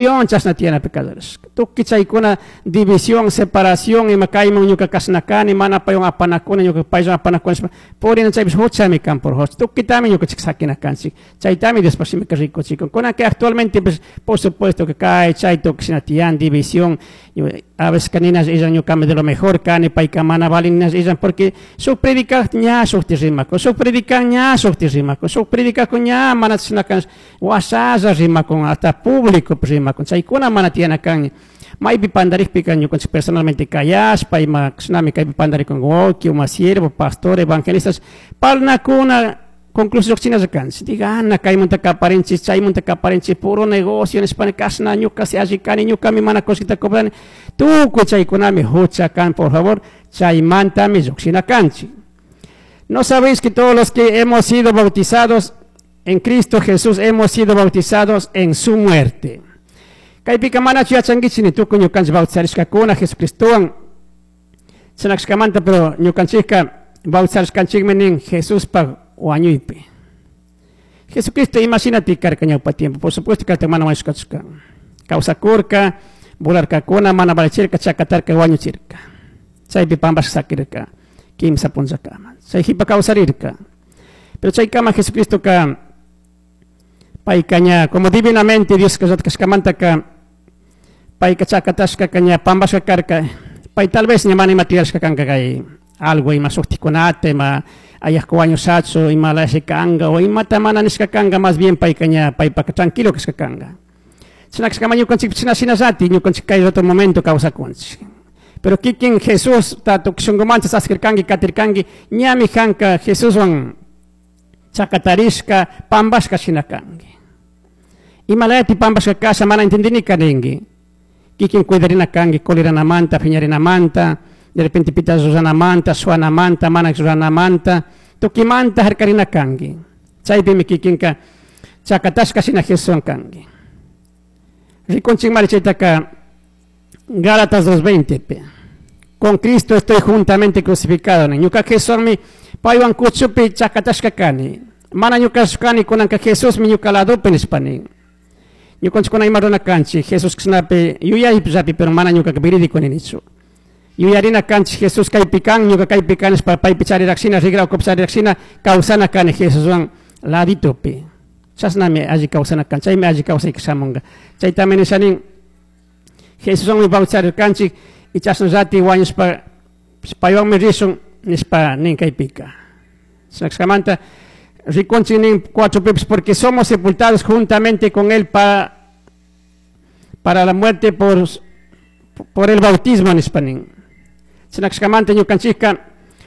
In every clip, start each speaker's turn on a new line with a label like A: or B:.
A: Chashna tiyanapi kallarishka. Tukuy chaykuna división, separación, ima kayman ñuka kashna kani, mana paywan apanakuna, ñuka paywan apanakuna nishpa purina chaypish huchami kan por favor. Tukuytami ñukanchik sakina kanchik. Chaytami Diospa shimika rikuchikun. Kunanka actualmente pues, por supuesto que kay chay tukuy shina tiyan división, a veces nina illan ñukami de lo mejor kani, payka mana valin nina illan porque shuk predicaj ña shukti rimakun, shuk predican ña shukti rimakun, shuk predicajun ña mana chashna kan, washalla rimakun, hasta público rimakun, chaykuna mana tiyana kan. Maypi pandarikpika ñukanchik personalmente kayashpa ima shinami kaypi pandarikun wawki, uma siervo, pastor, evangelistas, parlanakuna conclusión llukshinalla kanchik. Diga, ana kaymunta kaparinchik, chaymunta kaparinchik, puro negocio nishpa kashna ñuka si alli kani, ñukami mana kullkita cobrani, tukuy chaykunami hucha kan, por favor, chaymantami llukshina kanchik. ¿No sabéis que todos los que hemos sido bautizados en Cristo Jesús hemos sido bautizados en su muerte? Kaypika manachu yachankichik ni tukuy ñukanchik bautizarishkakuna Jesucristowan chinakashkamanta, pero ñukanchikka bautizarishkanchikmi nin Jesuspa wañuypi. Jesucristo imagínate karka ñawpa tiempo, por supuesto que mana wañushkachu kan. Kawsakurka, burlarkakuna, mana valichirka, chakatarka, wañuchirka. Chaypi pampashka sakirka, kimsa punllakama. Chay jipa kawsarirka. Pero chaykama Jesucristo ka payka ña, como divinamente Dios kashkamantaka, payka chakatashka ña pampashka karka, pay tal vez ña mana ima tiyashka kanka kay algo ima shuktikunata, ima ayajku wañushachu, ima lashi kanka, o imata mana nishka kanka, más bien payka ña paypaka tranquilo kashka kanka. China kashkama ñukanchik china shinallati, ñukanchik kay otro momento kawsakunchik. Pero kikin Jesús ta tukuy shunkumanta saskirkanki, katirkanki, ñami kanka Jesuswan chakatarishka, pampashka shina kanki. Imalayati pampashka kasha mana entendinika ninki. Kikin cuidarina kanki, coliranamanta, piñarinamanta, de repente pita ruranamanta, suanamanta, mana ruranamanta, tukimanta harkarina kanki. Chaypimi kikinka chakatashka shina Jesuswan kanki. Rikunchik mari chaytaka Gálatas 2:20 pe. Con Cristo estoy juntamente crucificado. Ñuka Jesusmi paywan kuchupi chakatashka kani. Mana ñuka kani kunanka Jesusmi ñuka ladopi nishpa nin. Ñukanchikuna ima runa kanchik Jesús kashnapi yuyaypi pero mana ñukaka verídico ninichu. Yuyarina kanchik Jesús kaypi kan, ñuka kaypi kan nishpa paypi chariraqshina, rigra ukupi chariraqshina kawsana kani Jesuswan laditopi. Chashnami alli kawsana kan, chaymi alli kawsayka shamunka. Chaytami nishanin Jesuswanmi bautizarirkanchik y chashnallati wañushpa paywanmi rishun nishpa nin kaypika. Chashkamanta rikunchik nin 4 pipis, porque somos sepultados juntamente con él para la muerte por el bautismo nishpa nin. Chinakashkamanta ñukanchikka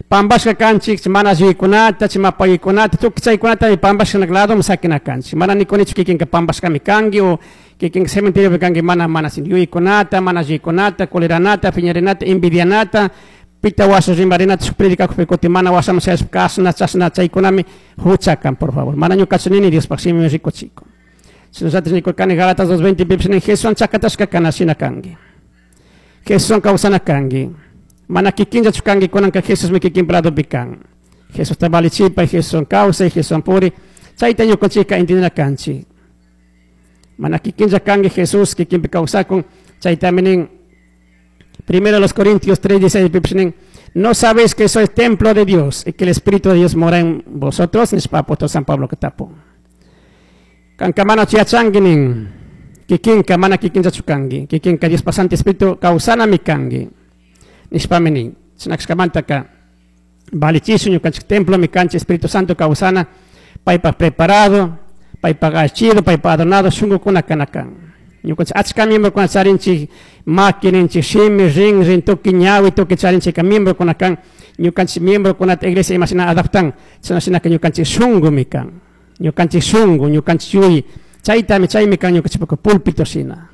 A: pampashka kanchik, mana yuyaykunata, chimapaykunata, tukuy chaykunata pampashka ladoman sakina kanchik. Mana nikunichu kikinka pampashkami kanki o kikinka cementeriopi kanki, mana, mana sin yuyaykunata, mana yuyaykunata, coleranata, piñarinata, envidianata, pita washa rimarinata, shuk predicakukpi kutin mana washaman chayashpa kashna, chashna chaykunami hucha kan, por favor. Mana ñukachu nini Diospaj shimi rikuchikun. Shinallatik nikurkani Gálatas 2:20 pipish nin, Jesuswan chakatashka kana shina kanki. Jesuswan kawsana kanki. Mana kikinllachu kanki kunanka Jesusmi kikinpa ladopi kan. Jesusta valichipay, Jesuswan kawsay, Jesuswan puri. Chayta ñukanchikka entendina kanchik. Mana kikinlla kanki Jesús kikinpi kawsakun. Chaytami nin Primero los Corintios 3:16 pipish nin, ¿no sabéis que sois templo de Dios y que el Espíritu de Dios mora en vosotros? Nishpa apóstol San Pablo katapun. Kanka mana yachanki nin, kikinka mana kikinllachu kanki, kikinka Diospa Santo Espíritu kawsanami kanki. Nishpami nin, chinakashkamantaka valichishun ñukanchik templomi kanchik Espíritu Santo kawsana, paypaj preparado, paypaj achido, paypaj adornado shunkukuna kana kan. Ñukanchik achka miembrokuna charinchik, maki ninchik, shimi, rin, rin, tukuy ñawi, tukuy charinchik miembrokuna kan. Ñukanchik miembrokunata iglesia ima shina adaptan, chashna shinaka ñukanchik shunkumi kan. Ñukanchik shunku, ñukanchik yuyi, chaytami, chaymi kan ñukanchikpaka púlpito shina.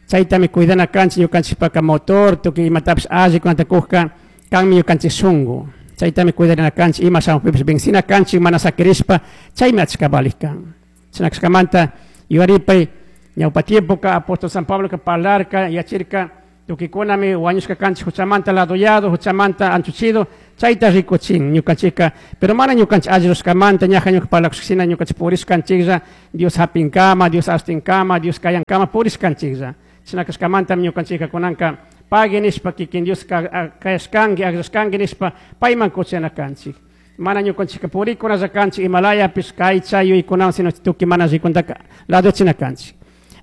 A: Chaytami cuidana kanchik ñukanchikpaka motor, tukuy imatapish allikunata kujka, kanmi ñukanchik shunku. Chaytami cuidarina kanchik, ima shamukpipish benzina kanchik, mana sakirishpa, chaymi achka valik kan. Chinakashkamanta yuyaripay, ñawpa tiempoka apóstol San Pablo ka parlarka, yachirka, tukuykunami wañushka kanchik huchamanta ladoyado, huchamanta anchuchido, Chayta rikuchin ñukanchikka, pero mana ñukanchik alli rurashkamanta ñaja ñuka parlakushkashina ñukanchik purishkanchiklla Dios hapinkama, Dios astinkama, Dios kayankama purishkanchiklla. Chashna kashkamantami ñukanchikka kunanka pagui nishpa kikin Dios kayashkanki, akllashkanki nishpa payman kuchana kanchik. Mana ñukanchikka purikunalla kanchik imalayapish kay chay yuyaykunawan sino tukuy mana allikunataka ladochina kanchik.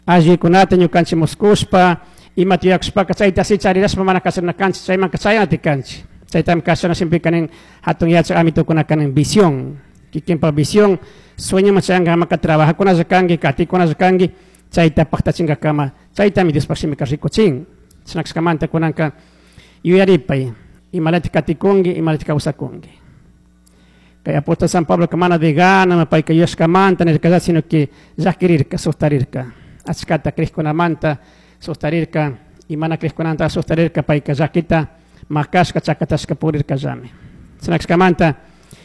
A: Allikunata ñukanchik muskushpa imata yuyakushpaka chayta así charirashpa mana kasharina kanchik, chaymanka chayanati kanchik. Chaytami kashana shimipika nin hatun yachak amitukunaka nin visión, kikinpak visión, sueñoman chayankakama trabajakunalla kanki, katikunalla kanki, chayta paktachingakama, chaytami Diospak shimika rikuchin. Chashna kashkamanta kunanka yuyaripay, imalatik katikunki, imalatik kawsakunki. Kay apóstol San Pablo mana de gana, payka yuyashkamanta nirkalla, sino que llakirirka, sustarirka. Achkata crejkunamanta sustarirka, y mana crejkunamanta sustarirka, payka llakita makashka, chakatashka purirkallami. Chashna kashkamanta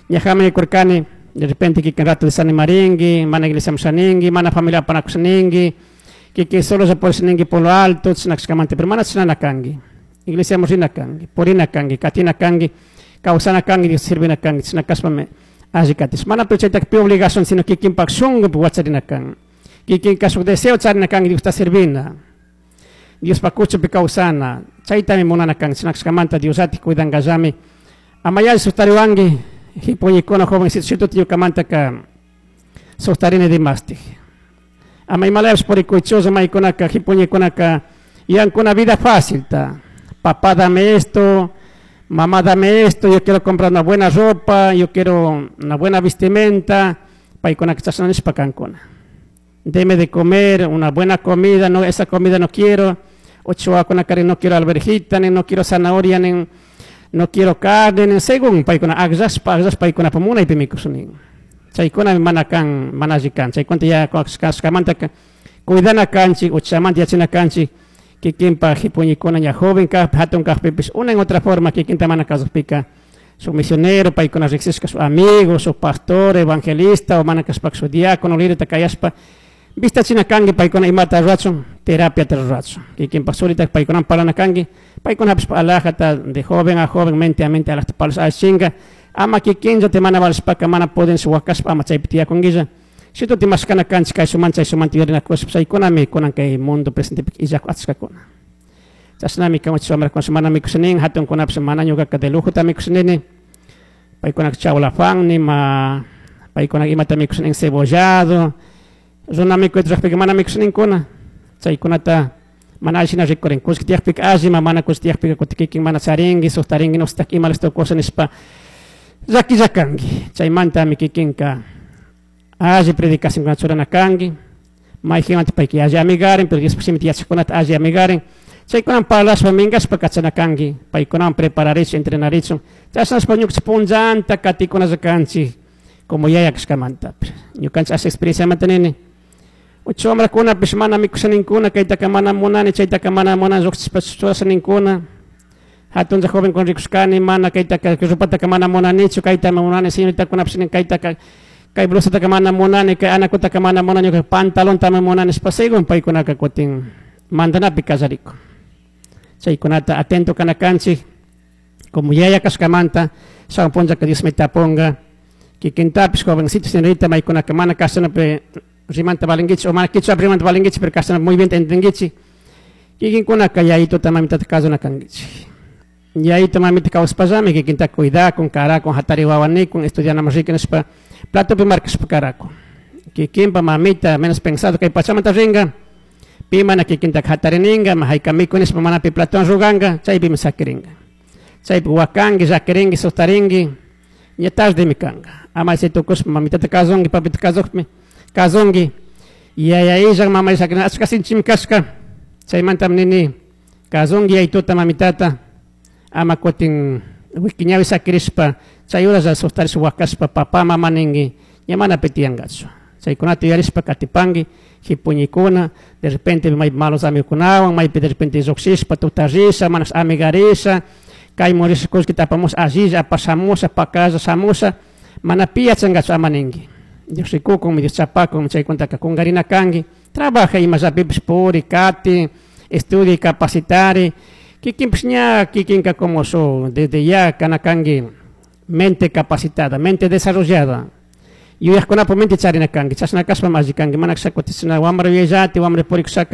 A: ñajami nikurkani, de repente kikin rato desanimarinki, mana iglesia mushaninki, mana familia apanakushaninki, kikin solo se puede polo alto, chashna kashkamanta, pero mana chashnana kanki. Iglesia rina kanki, purina kanki, katina kanki, kawsana kanki, Dios sirvina kanki, chashna kashpami alli katish. Mana pero chaytaka pi obligación, sino kikinpak shunkupi wacharina kan. Kikinka shuk deseo charina kanki Diosta sirvina. Diospak kuchupi kawsana, chaytami munana kanki, chashna kashkamanta Diosllatik cuidankallami. Ama yalli sustariwanki, hipuñikuna jovencito shituta ñukamantaka sustarini dimastik. Ama imalayapish purikuychulla maykunaka hipuñikunaka yankuna vida fácil ta. Papá dame esto, mamá dame esto, yo quiero comprar una buena ropa, yo quiero una buena vestimenta, paykunaka chashna nishpa kankuna. Deme de comer una buena comida, no, esa comida no quiero, ochoakuna kari no quiero alverjita, ni no quiero zanahoria, ni no quiero carne, ni según paykuna akllashpa, akllashpa paykunapa munaypi mikushun. Chaykuna mana kan, mana alli kan, chaykunata ya kashkamanta cuidana kanchik, uchamanta yachana kanchik, kikinpa hipuñikuna ña joven kajpi, hatun kajpipish, una en otra forma kikinta mana kasukpika, su misionero, paykuna riksishka su amigo, su pastor, evangelista, o mana kashpaka su diácono, líder kayashpa, vistachina kanki paykuna imata rurachun, terapiata rurachun. Kikinpak surita paykunawan parlana kanki, paykunapish alajata de joven a joven, mente a mente alajta parlash allichinka, ama kikinllata mana valishpaka mana pudinshi wakashpa ama chaypi tiyakunkilla. Shituti mashkana kanchik kayshuman chayshuman yuyarinakushpa chaykunami kunan kay mundo presentepika illaku achkakuna. Chashnami kan wamrakuna mana mikushanin, hatunkunapish mana ñukaka de lujota mikushanini, paykunaka chawlafan nima, paykunaka imata mikushanin cebollado, runa mikuyta rurajpika mana mikushaninkuna, chaykunata mana allishina rikurin, kullki tiyakpika allima, mana kullki tiyakpika kutin kikin mana charinki, suktarinki, nustak ima listo cosa nishpa llakilla kanki. Chaymantami kikinka alli predicacionkunata churana kanki, mayjinwanta payka alli amigarin, pero Diospak shimita yachakkunata alli amigarin, chaykunawan parlashpa minkashpa kachana kanki, paykunawan prepararichun, entrenarichun, chashnashpa ñukanchik punllanta katikunalla kanchik como yaya kashkamanta. Ñukanchik asha experienciamanta nini, ucha wamrakunapish mana mikushaninkuna, kaytaka mana munani, chaytaka mana munani, llukshishpa churashaninkuna, hatunlla jovenkuna rikushkani, mana kaytaka ropataka mana munanichu, kaytami munani, señoritakunapish nin kaytaka kay blusataka mana munani, kay anakutaka mana munani, ñuka pantalontami munani nishpa según paykunaka kutin mandanapi kallarikun. Chaykunata atento kana kanchik, como yaya kashkamanta, shamun punllaka Dios mitapunga, kikintapish jovencito, señorita, maykunaka mana kashanapi rimanta valinkichik, o mana kichwapi rimanta valinkichik, pero kashanapi muy bien entendichik, kikinkunaka yayituta mamitata kasuna kankichik. Yayito mamita kawsapallami kikinta cuidakun, karakun, hatari wawanikun, estudianaman riki nishpa, platopi markashpa karakun. Kikinpa mamita menos pensado kay pachamanta ringa, pi mana kikinta hatarininga, hayka miku nishpa mana pi platowan ruganka, chaypimi sakirinka. Chaypi wakanki, llakirinki, sustarinki, ña tardemi kanka. Ama chay tukushpa mamitata kasunki, papita kasukpi, kasunki, yaya illan, mama illan, achka sinchimi kashka, chaymantami nini, kasunki yayituta mamitata, ama kutin wikiñawi sakirishpa, chay horalla sustarishpa wakashpa, papá, mama ninki, ña mana pi tiyankachu. Chaykunata yuyarishpa katipanki, hipuñikuna, de repente maypi malos amigukunawan, maypi de repente llukshishpa, tuta risha, mana amigarisha, kaymun risha kullkita apamusha, allilla apashamusha, pakalla shamusha, mana pi yachankachu ama ninki. Dios rikukun, Dios chapakun, chaykuntaka kunkarina kanki, trabaja imallapipish puri, kati, estudia, capacitari, Kikinpish ña kikinka como su desde ya kana kanki mente capacitada, mente desarrollada. Yuyajkunapuk mente charina kanki, chashna kashpami alli kanki, mana kashaka wambra yuyayllati, wambra purikushaka.